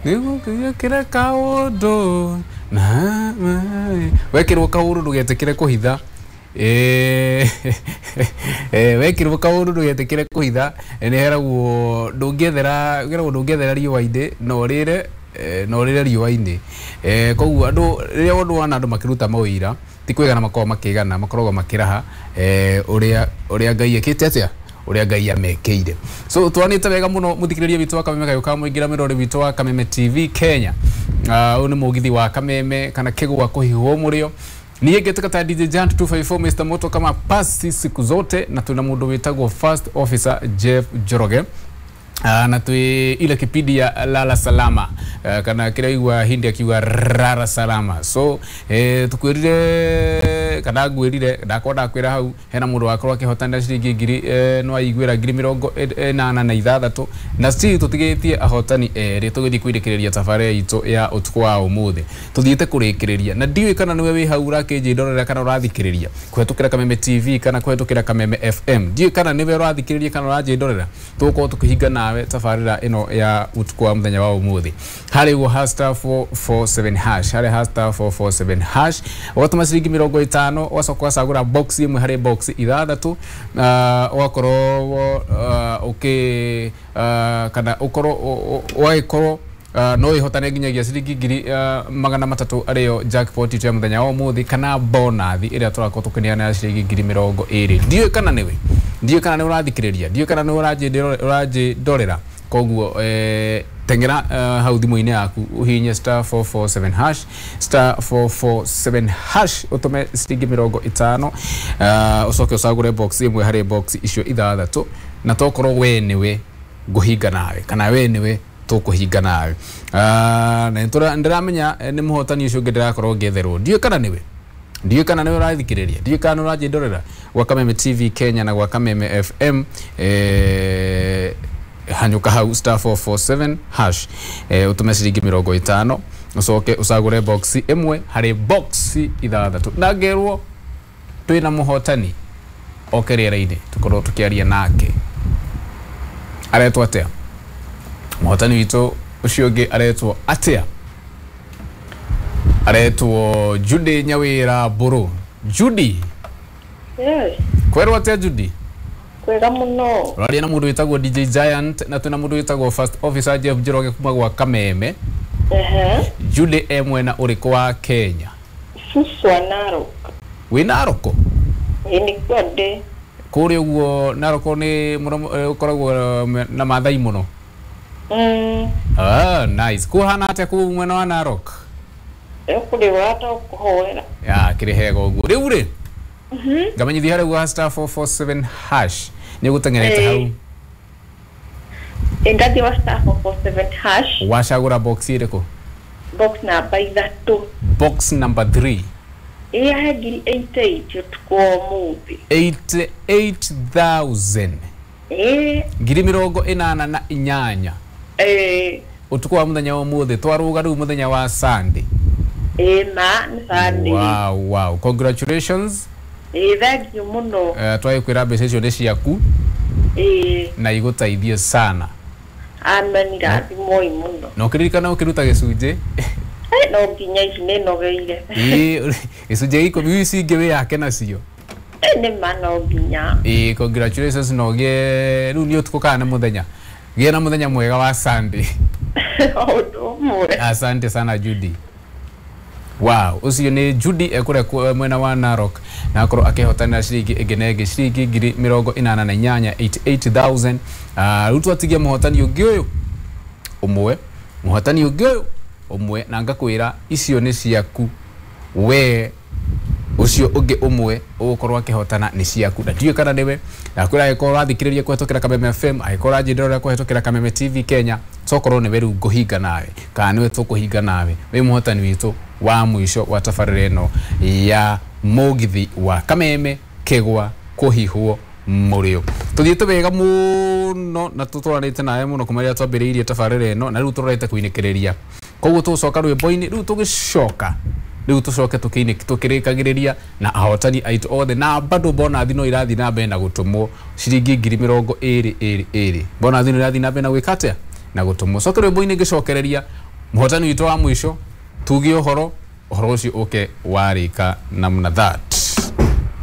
Nĩgũkĩra kaũndũ na wekĩrwo kaũndũ ndũgetĩkĩre kũhitha. Wekĩrwo kaũndũ ndũgetĩkĩre kũhitha. Nĩ heragwo ndũngĩethera, keragwo ndũngĩethera riũa-inĩ no ũrĩre, no ũrĩre riũa-inĩ. Koguo andũ rĩrĩa ũndũ wona andũ makĩruta mawĩira ti kwĩgana makoragwo makĩgana, makoragwo makĩraha ũrĩa Ngai ekĩte atĩa, ũrĩa Ngai amekĩire. So twanĩte wega mũno mũthikĩrĩria witũ wa Kameme Kayũ ka mũingĩra mĩrori witũ wa Kameme TV Kenya. Ũyũ nĩ mũgithi wa Kameme kana kĩgwa kũhihwo mũrĩo. Niĩ ngĩtuĩka ta DJ Giant 254 Mr Moto kama pasi siku zote, na twĩna mũndũ wĩtagwo First Officer Jeff Njoroge. Na twĩ ile kipindi ya lala salama, kana kĩrĩa igua hindi akiuga rara salama. So tukwĩrire kana ngwĩrire ndakorwo ndakwĩra hau hena mũndũ wakorwo akĩhotanĩra ciringi ngiri, no aiguĩra 86,000, na still tũtigĩtie ahotani erĩ tũgĩthiĩ kwĩrĩkĩrĩria tabarĩra itũ ya ũtukũ wa ũmũthĩ. Tũthiĩte kũrĩkĩrĩria na ndiũĩ kana nĩwe wĩ hau ũrakĩnjĩndorera kana ũrathikĩrĩria kũhetũkĩra Kameme TV kana kũhetũkĩra Kameme FM. Ndiũĩ kana nĩwe ũrathikĩrĩria kana ũranjĩndorera. Tũgũkorwo tũkĩhinga nawe tabarĩra ĩno ya ũtukũ wa mũthenya wa ũmũthĩ harĩ guo hash star 447 hash, harĩ hash star 447 hash ũgatũma ciringi 50, ũgacoka ũgacagũra box ĩmwe harĩ box ithathatũ, ũgakorwo ũkĩ kana ũkorwo ũgagĩkorwo no ĩhotane nginyagia ciringi 300,000 arĩyo jackpot itũ ya mũthenya wa ũmũthĩ, kana bonathi ĩrĩa tũrakorwo tũkĩneana ya ciringi 20,000. Ndiũĩ kana nĩwe, ndiũĩ kana nĩ ũrathikĩrĩria, ndiũĩ kana nĩ ũranjĩndorera. Koguo tengera hau thimũ-inĩ yaku ũhihinye star 447 hash, star 447 hash ũtũme ciringi 50, ũcoke ũcagũre box ĩmwe harĩ box icio ithathatũ, na tokorwo we nĩwe ngũhinga nawe kana we nĩwe tũkũhinga nawe. Na ndĩramenya nĩ mũhotani ũcio ũngĩ ndĩrakorwo ngĩetherwo. Ndiũĩ kana nĩwe, ndiũĩ kana nĩwe ũrathikĩrĩria, ndiũĩ kana nĩ ũranjĩndorera gwa Kameme TV Kenya na gwa Kameme FM. Hanyũka hau star 447 hash, ũtũme ciringi 50, ũcoke ũcagũre box ĩmwe harĩ box ithathatũ, na ngerwo twĩna mũhotani oke rĩera-inĩ tũkorwo tũkĩaria nake. Aretwo atĩa mũhotani witũ ũcio ũngĩ? Aretwo atĩa? Aretwo Judy Nyawĩra Mbũrũ. Judy. Yes. Kwerwo atĩa Judy? Kwega mũno. Ũraria na mũndũ wĩtagwo DJ Giant na twĩna mũndũ wĩtagwo First Officer Jeff Njoroge kuma gwa Kameme. Judy e mwena ũrĩkũ wa Kenya? Suswa Narok. Wĩ Narok? Ĩ nĩkuo ndĩ. Kũrĩa ũguo Narok nĩ mũno ũkoragwo na Maathai mũno. Ah, nice. Kũhana atĩa kũu mwena wa Narok? Kũrĩ to kũhoera. Ya, kĩrĩ hega ũguo. Rĩu rĩ, ngamenyithia harĩa ũguo star 447 hash nĩ ũgũteng'erete hau. Ndathiĩ wa star 447 hash. Wacagũra box ĩrĩkũ? Box namba ithatũ. Box number 3. Ĩ yahe 88,000 ũtukũ wa ũmũthĩ. 88,000. Ĩ. 88,000. Ĩ. Ũtukũ wa mũthenya wa ũmũthĩ twarũga rĩu mũthenya wa Sunday. Ĩ ma nĩ Sunday. Wow, wow. Congratulations. Ĩ thank you mũno. Twagĩkwĩra mbeca icio nĩ ciaku. Ĩ. Na igũteithie sana. Amen, irathimwo mũno. Na ũkĩririkana ũkĩruta gĩcunjĩ. No nginya ici nĩ nogeire. Ĩ gĩcunjĩ gĩa ikũmi ici ingĩ wĩyake nacio. Nĩ ma no nginya. Ĩ congratulations na ũgĩe rĩu nĩ ũtukũ kana nĩ mũthenya. Gĩa na mũthenya mwega wa Sunday. Ũndũ ũmwe. Asante sana Judy. Wow, ũcio nĩ Judy ekũrĩa mwena wa Narok na akorwo akĩhotanĩra ciringi ĩngĩ na ĩngĩ ciringi 88,000 88,000. Rĩu twatigia mũhotani ũngĩ ũyũ ũmwe, mũhotani ũngĩ ũyũ ũmwe, na ngakwĩra icio nĩ ciaku we ũcio ũngĩ ũmwe ũgũkorwo akĩhotana nĩ ciaku, na ndiũĩ kana nĩwe. Ndakwĩra angĩkorwo ũrathikĩrĩria kũhetũkĩra Kameme FM, angĩkorwo ũranjĩndorera kũhetũkĩra Kameme TV Kenya, tokorwo nĩwe rĩu ngũhinga nawe kana nĩwe tũkũhinga nawe wĩ mũhotani witũ wa mũico wa tabarĩra ĩno ya mũgithi wa Kameme kĩgwa kũhihwo mũrĩo. Tũthiĩte wega mũno na tũtwaranĩte nawe mũno kuma rĩrĩa twambĩrĩirie tabarĩra ĩno, na rĩu tũrorete kũinĩkĩrĩria. Koguo tũgũcoka rwĩmbo-inĩ rĩu, tũgĩcoka rĩu tũcoke tũkĩrĩkagĩrĩria na ahotani aitũ othe, na bado bonathi no irathiĩ na mbere na gũtũmwo ciringi 20,000 ĩrĩ ĩrĩ. Bonathi no irathiĩ na mbere na gwĩka atĩa? Na gũtũmwo coke rwĩmbo-inĩ ngĩcokereria mũhotani witũ wa mũico, tuge ũhoro ũcio ũke warĩka namna that.